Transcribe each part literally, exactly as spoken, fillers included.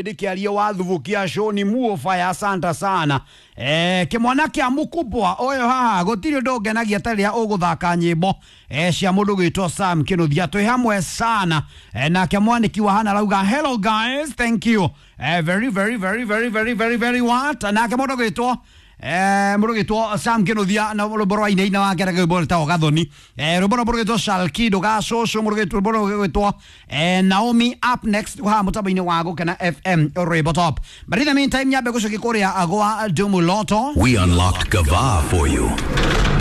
Ndikiaria wa thubukia show ni muofaya asante sana eh kimwana kia mukubwa oyo haha gutiri undu ngenagia ta riria uguthaka nyimbo eh cia mundu gwitwo Sam Kinuthia twi hamwe sana eh, nake mwaniki wa hana arauga hello guys, thank you eh, very very very very very very very what nake mundu gwitwo eh mundu gwitwo Sam Kinuthia na rwimbo rwa inaina wake na rwimbo rwĩtagwo Gathoni eh rwimbo rwa rwitwo Shalkido Gacũcũ mundu gwitwo rwimbo rwitwo eh Naomi up next ha mutambo-inĩ wa Gũkena F M rwimbo top. But in the meantime nyambe gũcokia kũrĩa gwa Dumuloto. We unlocked Gava for you.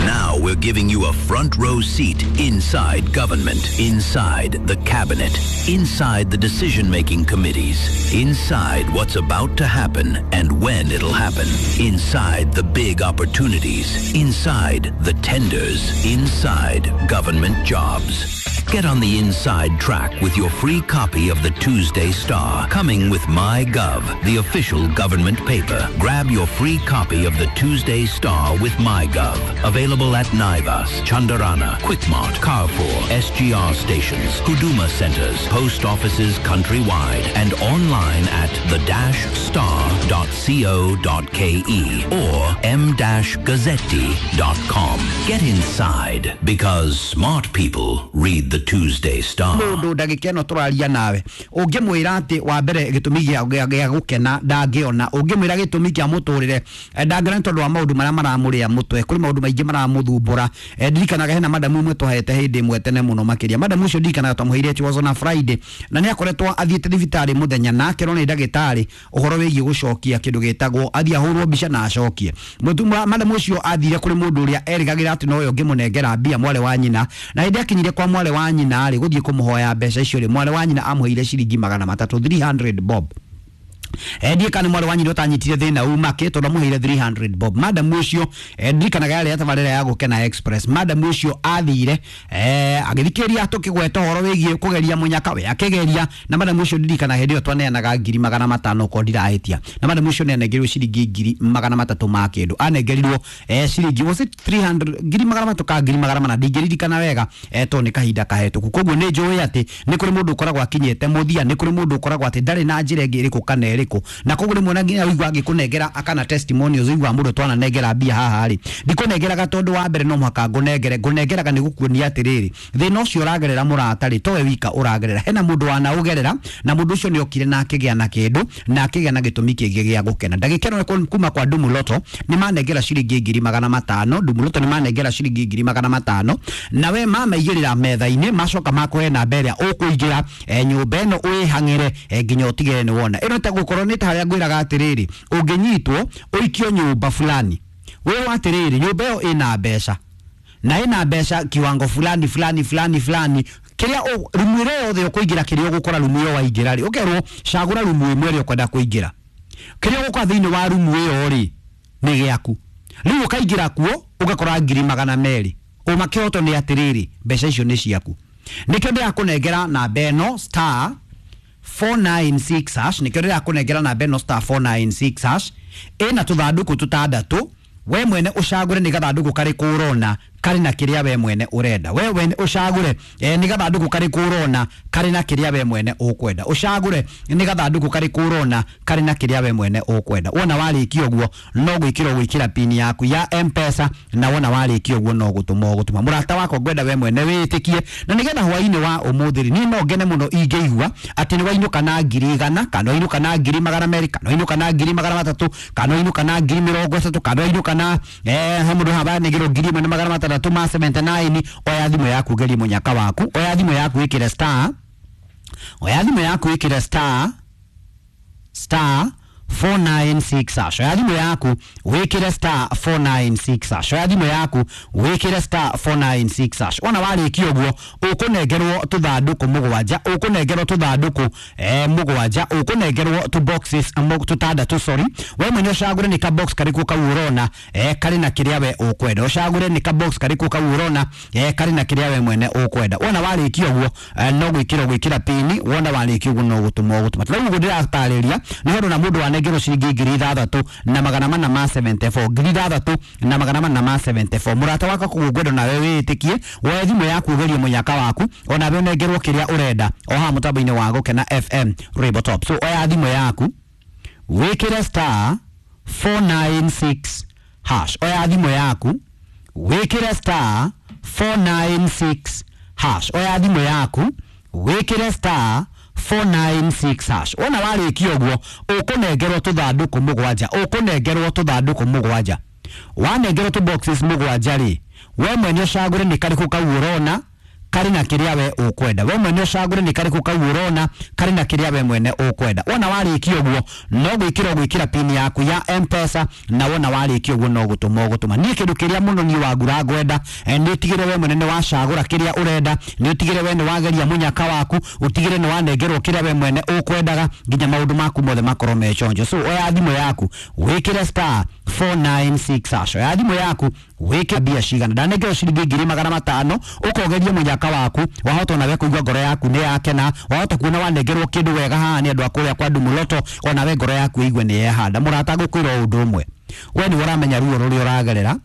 Now we're giving you a front row seat inside government, inside the cabinet, inside the decision-making committees, inside what's about to happen and when it'll happen, inside the big opportunities, inside the tenders, inside government jobs. Get on the inside track with your free copy of the Tuesday Star, coming with MyGov, the official government paper. Grab your free copy of the Tuesday Star with MyGov. Available at Naivas, Chandarana, Quickmart, Carrefour, S G R stations, Huduma centers, post offices countrywide, and online at the dash star dot co dot ke or m dash gazzetti dot com. Get inside, because smart people read the Tuesday Star. Mundu ndagika ĩno tũraria nawe ũngĩmwĩra atĩ wa mbere gĩtũmi gĩa gĩa gũkena ndangĩona, ũngĩmwĩra gĩtũmi kĩa mũtũrĩre ndangĩona nĩ tondũ wa maũndũ marĩa maramũrĩa mũtwe, kũrĩ maũndũ maingĩ maramũthumbũra. Ndirikanaga hena madamu ũmwe twahete hĩndĩ ĩmwe tene mũno makĩria, madamu ũcio ndirikanaga twamũheire it was on a Friday, na nĩ akoretwo athiĩte thibitarĩ mũthenya na akerwo nĩ ndagĩtarĩ ũhoro wĩgiĩ gũcokia kĩndũ gĩtagwo athiĩ ahũrwo mbica na acokie. Madamu ũcio athire kũrĩ mũndũ ũrĩa erĩgagĩra atĩ nowe ũngĩmũnengera mbia, mwarĩ wa nyina, na hĩndĩ akinyire kwa mwarĩ wa nyina rĩ gũthiĩ kũmũhoya mbeca icio rĩ, mwarĩ wa nyina amũheire ciringi magana matatũ three hundred bob. Endie kana mwarĩ wa nyina ũtanyitire thĩna umake tondũ amũheire three hundred bob. Madam ũcio ndirikanaga yarĩ tabarĩra ya Gũkena Express, madam ũcio athire eh agĩthikĩrĩria tũkĩgweta ũhoro wĩgiĩ kũgeria mũnyaka we akĩgeria, na madam ũcio ndirikana hĩndĩ ĩyo twaneanaga ngiri magana matano ko ndirahĩtia, na madam ũcio nĩanengerirwo ciringi ngiri magana matatũ ma kĩndũ, anengerirwo eh ciringi was it three hundred ngiri magana matatũ ka ngiri magana mana ndingĩririkana wega eh tondũ nĩ kahinda kahĩtũku. Koguo nĩ njũĩ atĩ nĩ kũrĩ mũndũ ũkoragwo akinyĩte mũthia, nĩ kũrĩ mũndũ ũkoragwo atĩ ndarĩ na njĩra ĩngĩ ĩrĩkũ kana ĩrĩkũ, na koguo rĩmwe na nginya ũigua angĩkũnengera akana testimonials ũigua mũndũ twananengera mbia haha rĩ, ndikũnengeraga tondũ wa mbere no mũhaka ngũnengere, ngũnengeraga nĩ gũkuonia atĩrĩrĩ thĩna ũcio ũragerera mũrata rĩ towe wika ũragerera, hena mũndũ wanaũgerera na mũndũ ũcio nĩ okire na akĩgĩa na kĩndũ na akĩgĩa na gĩtũmi kĩngĩ gĩa gũkena. Ndagĩka ĩno kuma kwa Dumuloto nĩ manengera ciringi ngiri magana matano, Dumuloto nĩ manengera ciringi ngiri magana matano, na we mamaigĩrĩra metha-inĩ macoka makũhe namba ĩrĩa ũkũingĩra nyũmba ĩno wĩhang'ĩre nginya ũtigĩrĩre nĩ wona. Ĩno ta gũkorwo nĩ ta harĩa ngwĩraga atĩrĩrĩ ũngĩnyitwo ũikio nyũmba fulani wĩrwo atĩrĩrĩ nyũmba ĩyo ĩna mbeca na ĩna mbeca kiwango fulani fulani fulani fulani, kĩrĩa rumu ĩrĩa yothe ũkũingĩra kĩrĩa ũgũkora rumu ĩyo waingĩra rĩ ũkerwo cagũra rumu ĩmwe ĩrĩa ũkwenda kũingĩra, kĩrĩa ũgũkora thĩinĩ wa rumu ĩyo rĩ nĩ gĩaku, rĩu ũkaingĩra kuo ũgakora ngiri magana merĩ, ũma kĩhoto nĩ atĩrĩrĩ mbeca icio nĩ ciaku. Nĩkĩo ndĩrakũnengera namba ĩno star four nine six hash, nĩkĩo ndĩrakũnengera namba ĩno star four nine six hash ĩna tũthandũkũ tũtandatũ, we mwene ũcagũre nĩ gathandũkũ karĩkũ ũrona karĩ na kĩrĩa we mwene ũrenda, we mwene ũcagũre eh, nĩ gathandũkũ karĩkũ ũrona karĩ na kĩrĩa we mwene ũkwenda, ũcagũre nĩ gathandũkũ karĩkũ ũrona karĩ na kĩrĩa we mwene ũkwenda. Wona warĩkia ũguo no gwĩkĩra ũgwĩkĩra pin yaku ya M-Pesa, na wona warĩkia ũguo no gũtũma ũgũtũma. Mũrata wakwa ngwenda we mwene wĩtĩkie, na nĩgetha hwaĩ-inĩ wa ũmũthĩ rĩ niĩ no ngene mũno ingĩigua atĩ nĩ wainũka na ngiri igana kana wainũka na ngiri magana merĩ kana wainũka na ngiri magana matatũ kana wainũka na ngiri mĩrongo ĩtatũ kana wainũka na eh he mũndũ haha nĩngĩrwo ngiri ĩmwe na magana matandatũ ma seventy nine. Oya thimũ yaku geria mũnyaka waku, oya thimũ yaku ĩkĩre star, oya thimũ yaku ĩkĩre star star four nine six hash, oya thimũ yaku wĩkĩre star four nine six hash, oya thimũ yaku wĩkĩre star four nine six hash. Wona warĩkia ũguo ũkũnengerwo tũthandũkũ mũgwanja, ũkũnengerwo tũthandũkũ eh mũgwanja, ũkũnengerwo tũ boxes tũtandatũ, sorry, we mwene ũcagũre nĩ ka box karĩkũ kau ũrona eh karĩ na kĩrĩa we ũkwenda, ũcagũre nĩ ka box karĩkũ kau ũrona eh karĩ na kĩrĩa we mwene ũkwenda. Wona warĩkia ũguo no gwĩkĩra gwĩkĩra pini, wona warĩkia ũguo no gũtũma ũgũtũma. Rĩu ũguo ndĩratarĩria nĩ ũndũ na mũndũ ndanengerwo ciringi ngiri ithathatũ na magana mana ma seventy-four, ngiri ithathatũ na magana mana ma seventy-four. Mũrata wakwa koguo ngwenda nawe wĩĩtĩkie woe thimũ yaku ũgerie mũnyaka waku onawe ũnengerwo kĩrĩa ũrenda o haha mũtambo-inĩ wa Gũkena F M Rainbow Top. So oya thimũ yaku wĩkĩre star four nine six hash. Oya thimũ yaku wĩkĩre star four nine six hash. Oya thimũ yaku wĩkĩre star four nine six hash. Wona warĩkia ũguo ũkũnengerwo tũthandũkũ mũgwanja, ũkũnengerwo tũthandũkũ mũgwanja. Wanengerwo tũ boxes mũgwanja rĩ, we mwene ũcagũre nĩ karĩkũ kau ũrona karĩ na kĩrĩa we ũkwenda. We mwene ũcagũre nĩ karĩkũ kau ũrona karĩ na kĩrĩa we mwene ũkwenda. Wona warĩkia ũguo no gwĩkĩra ũgwĩkĩra pin yaku ya M-Pesa, na wona warĩkia ũguo no gũtũma ũgũtũma. Niĩ kĩndũ kĩrĩa mũno niĩ wangura ngwenda nĩ ũtigĩre we mwene nĩ wacagũra kĩrĩa ũrenda, nĩ ũtigĩre we nĩ wageria mũnyaka waku, ũtigĩre nĩ wanengerwo kĩrĩa we mwene ũkwendaga nginya maũndũ maku mothe makorwo me chonjo. So oya thimũ yaku wĩkĩre star four nine six hash. Oya thimũ yaku wĩkĩre mbia cigana, ndanengerwo ciringi ngiri magana matano, ũkogeria mũnyaka waku, wahota onawe kũigua ngoro yaku nĩ yakena, wahota kuona wanengerwo kĩndũ wega haha nĩ andũ a kũrĩa kwa Ndumuloto, onawe ngoro yaku ĩigue nĩ yehanda. Mũrata ngũkwĩra ũndũ ũmwe, we nĩwe ũramenya ruo rũrĩa ũragerera,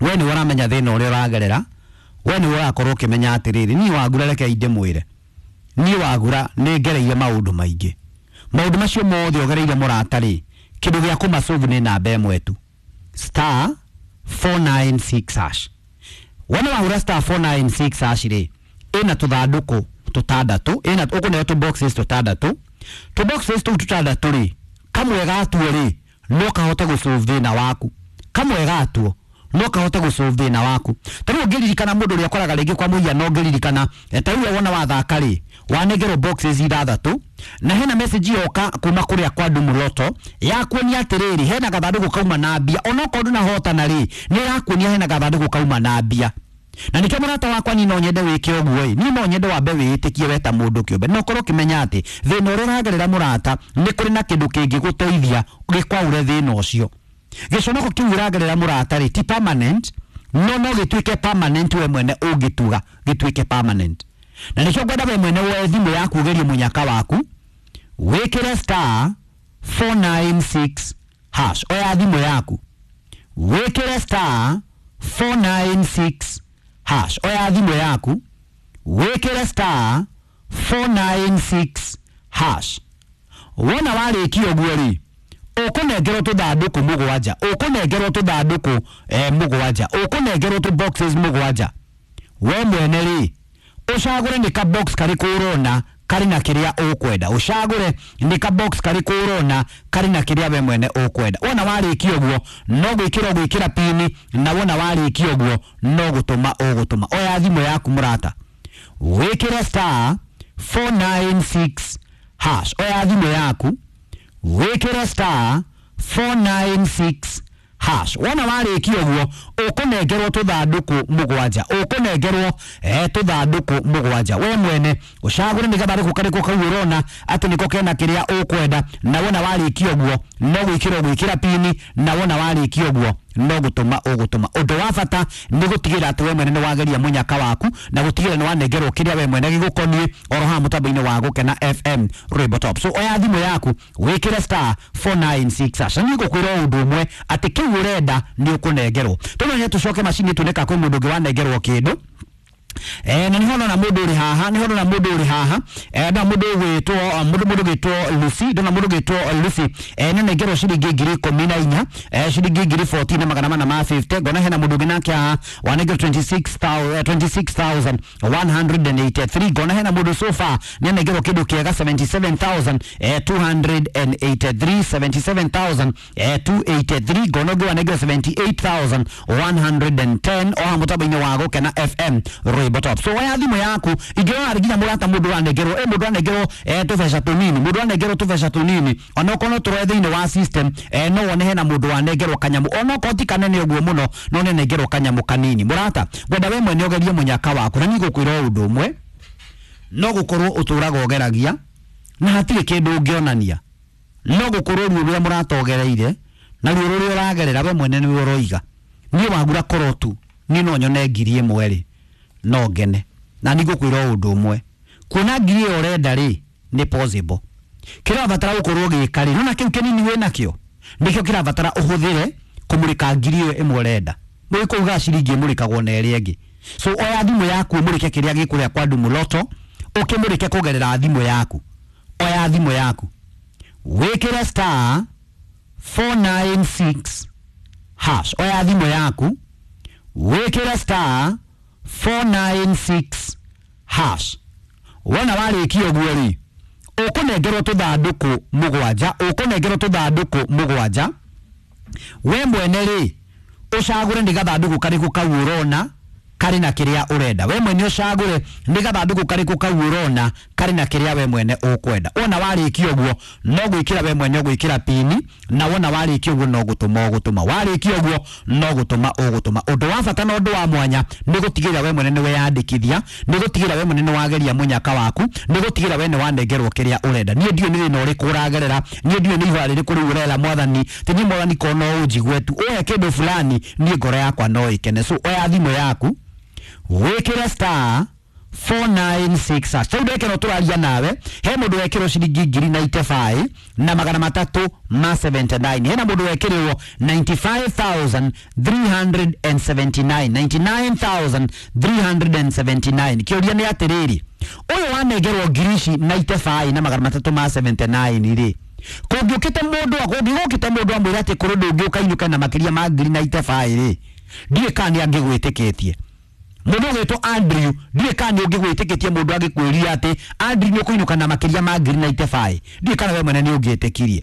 we nĩwe ũramenya thĩna ũrĩa ũragerera, we nĩwe ũrakorwo ũkĩmenya atĩrĩrĩ, niĩ wangura reke ndĩmwĩre, niĩ wagura nĩ ngereire maũndũ maingĩ. Maũndũ macio mothe ũgereire mũrata rĩ, kĩndũ gĩa kũmasolve nĩ namba ĩmwe tu, star four nine six hash. Wona wahũra star four nine six hash rĩ, ĩna tũthandũkũ tũtandatũ, ĩna ũkũneo tũ boxes tũtandatũ, tũ boxes tũu tũtandatũ rĩ, kamwe gatuo rĩ no kahote gũsolve thĩna waku, kamwe gatuo no kahote gũsolve thĩna waku. Ta rĩu ũngĩririkana mũndũ ũrĩa ũkoraga rĩngĩ kwa mũhiano, ũngĩririkana ta rĩu wona wathaka rĩ, wanengerwo boxes ithathatũ na hena message yoka kuma kũrĩa kwa Ndumuloto ya kuonia atĩrĩrĩ, hena gathandũkũ kauma na mbia, onokorwo ndũnahotana rĩ, nĩ ĩrakuonia hena gathandũkũ kauma na mbia. Na nikio mũrata wakwa niĩ no nyende wĩke ũguo ĩ, niĩ no nyende wambe wĩĩtĩkie we ta mũndũ kĩũmbe, na ũkorwo ũkĩmenya atĩ thĩna ũrĩa ũragerera mũrata nĩ kũrĩ na kĩndũ kĩngĩgũteithia gĩkwaũre thĩna ũcio. Gĩconoko kĩu ũragerera mũrata rĩ ti permanent, no no gĩtuĩke permanent we mwene ũngĩtuga gĩtuĩke permanent. Na nĩkĩo ngwenda we mwene woe thimũ yaku ũgerie mũnyaka waku, wĩkĩre star four nine six hash. Oya thimũ yaku wĩkĩre star four nine six hash. Oya thimũ yaku wĩkĩre star four nine six hash. Wona warĩkia ũguo rĩ, ũkũnengerwo tũthandũkũ mũgwanja, ũkũnengerwo tũthandũkũ eh, mũgwanja, ũkũnengerwo tũ boxes mũgwanja. We mwene rĩ ũcagũre nĩ ka box karĩkũ ũrona karĩ na kĩrĩa ũkwenda, ũcagũre nĩ ka box karĩkũ ũrona karĩ na kĩrĩa we mwene ũkwenda. Wona warĩkia ũguo no gwĩkĩra ũgwĩkĩra pini, na wona warĩkia ũguo no gũtũma ũgũtũma. Oya thimũ yaku mũrata wĩkĩre star four nine six hash. Oya thimũ yaku wĩkĩre star four nine six hash. Wona warĩkia ũguo ũkũnengerwo tũthandũkũ mũgwanja, ũkũnengerwo eh, tũthandũkũ mũgwanja. We mwene ũcagũre nĩ gathandũkũ karĩkũ kau ũrona atĩ nĩko kena kĩrĩa ũkwenda, na wona warĩkia ũguo no gwĩkĩra ũgwĩkĩra pini, na wona warĩkia ũguo no gũtũma ũgũtũma. Ũndũ wa bata nĩ gũtigĩrĩra atĩ we mwene nĩ wageria mũnyaka waku na gũtigĩrĩra nĩ wanengerwo kĩrĩa we mwene gĩgũkoniĩ oro haha mũtambo-inĩ wa Gũkena F M Rainbow Top. So oya thimũ yaku wĩkĩre star four nine six hash. Na niĩ ngũkwĩra ũndũ ũmwe atĩ kĩu ũrenda nĩ ũkũnengerwo. Tũmenye tũcoke macini tuone kana kwĩ mũndũ ũngĩ wanengerwo kĩndũ. Eh, na niho ndona mũndũ ũrĩ haha, niho ndona mũndũ ũrĩ haha, eh, ndona mũndũ ũgwĩtwo mũndũ mũndũ ũgwĩtwo Lucy, ndona mũndũ ũgwĩtwo Lucy, eh, nĩ nengerwo ciringi ngiri ikũmi na inya, eh, ciringi ngiri fourteen na magana mana ma fifty. Ngona hena mũndũ ũngĩ nake haha wanengerwo twenty-six thousand one hundred and eighty-three. Ngona hena mũndũ so far nĩ anengerwo kĩndũ kĩega seventy-seven thousand two hundred and eighty-three, seventy-seven thousand two eighty-three. Ngona ũngĩ wanengerwo seventy-eight thousand one hundred and ten o haha mũtambo-inĩ wa Gũkena F M Rainbow Top. So oya thimũ yaku ingĩrora nginya mũrata mũndũ wanengerwo, eh, mũndũ wanengerwo eh, tũbeca tũnini, mũndũ wanengerwo tũbeca tũnini, onokorwo no tũroe thĩinĩ wa system, eh, no wone hena mũndũ wanengerwo kanyamũ, onokorwo ti kanene ũguo mũno, no nĩanengerwo kanyamũ kanini. Mũrata ngwenda we mwene ũgerie mũnyaka waku, na niĩ ngũkwĩra ũndũ ũmwe, no gũkorwo ũtũraga ũgeragia na hatirĩ kĩndũ ũngĩonania, no gũkorwo ruo rũrĩa mũrata ũgereire na ruo rũrĩa ũragerera we mwene nĩwe ũroiga. Niĩ wagura korwo tu niĩ no nyone ngiri ĩmwe rĩ, no ngene. Na nĩ ngũkwĩra ũndũ ũmwe, kuona ngiri ĩyo ũrenda rĩ nĩ possible. Kĩrabatara gũkorwo gĩka rĩ, nona kĩu kĩnini wĩ nakĩo nĩkĩo kĩrabatara ũhũthĩre kũmũrĩka ngiri ĩyo ĩmwe ũrenda. Mũgĩkũu ga ciringi ĩmũrĩkagwo na ĩrĩa ĩngĩ. So oya thimũ yaku ũmũrĩke kĩrĩa gĩkũrĩa kwa Ndumuloto, ũkĩmũrĩke kũgerera thimũ yaku. Oya thimũ yaku, wĩkĩre star four nine six hash. Oya thimũ yaku, wĩkĩre star four nine six hash. Wona warĩkia ũguo rĩ, ũkũnengerwo tũthandũkũ mũgwanja, ũkũnengerwo tũthandũkũ mũgwanja. We mwene rĩ, ũcagũre nĩ gathandũkũ karĩkũ kau ũrona karĩ na kĩrĩa ũrenda. We mwene ũcagũre nĩ gathandũkũ karĩkũ kau ũrona karĩ na kĩrĩa we mwene ũkwenda. Wona warĩkia ũguo no gwĩkĩra we mwene ũgwĩkĩra pini, na wona warĩkia ũguo no gũtũma ũgũtũma. Warĩkia ũguo no gũtũma ũgũtũma. Ũndũ wa bata na ũndũ wa mwanya nĩ gũtigĩrĩra we mwene nĩ weyandĩkithia, nĩ gũtigĩrĩra we mwene nĩ wageria mũnyaka waku, nĩ gũtigĩrĩra we nĩ wanengerwo kĩrĩa ũrenda. Niĩ ndiũĩ nĩ thĩna ũrĩkũ ũragerera, niĩ ndiũĩ nĩ ihoya rĩrĩkũ rĩu ũrera mwathani, ti niĩ mwathani ko no ũnjigue tu ũhe kĩndũ fulani, niĩ ngoro yakwa no ĩkene. So oya thimũ yaku, wĩkĩre star four nine six hash. Rĩu ndekero tũraria nawe, he mũndũ wekĩrwo ciringi ngiri ninety-five na magana matatũ ma seventy-nine. Hena mũndũ wekĩrĩrwo ninety-five thousand three hundred and seventy-nine, ninety-nine thousand three hundred and seventy-nine. Kĩũria nĩ atĩrĩrĩ, ũyũ wanengerwo ngiri ici ninety-five na magana matatũ ma seventy-nine rĩ, kũngĩũkĩte mũndũ, kũngĩgũkĩte mũndũ amwĩre atĩ kũrĩ ũndũ ũngĩ ũkainũka na makĩria ma ngiri ninety-five rĩ, ndiũĩ kana nĩ angĩgwĩtĩkĩtie. Mũndũ ũgwĩtwo Andrew, ndiũĩ kana nĩ ũngĩgwĩtĩkĩtie mũndũ angĩkwĩria atĩ Andrew nĩ ũkũinũka na makĩria ma ngiri ninety-five, ndiũĩ kana we mwene nĩ ũngĩtĩkirie.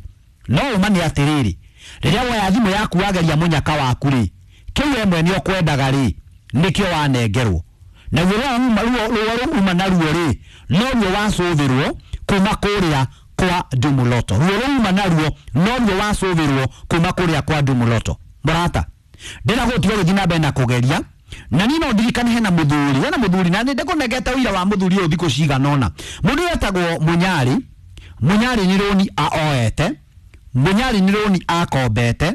No ũma nĩ atĩrĩrĩ, rĩrĩa woya thimũ yaku wageria mũnyaka waku rĩ, kĩu we mwene ũkwendaga rĩ, nĩkĩo wanengerwo. Naguo ruo ruo rũu uma naruo rĩ, noruo wacũthĩrwo kuma kũrĩa kwa Ndumuloto. Ruo rũu uma naruo noruo wacũthĩrwo kuma kũrĩa kwa Ndumuloto. Mũrata, ndĩrenda gũtiga gũthiĩ na mbere na kũgeria. Na niĩ no ndirikane hena mũthuri, hena mũthuri na nĩndĩkũnengete ũira wa mũthuri ũyũ thikũ cigana ũna. Mũndũ ũyũ etagwo Mũnyarĩ. Mũnyarĩ nĩ rũni oete, Mũnyarĩ nĩ rũni akombete.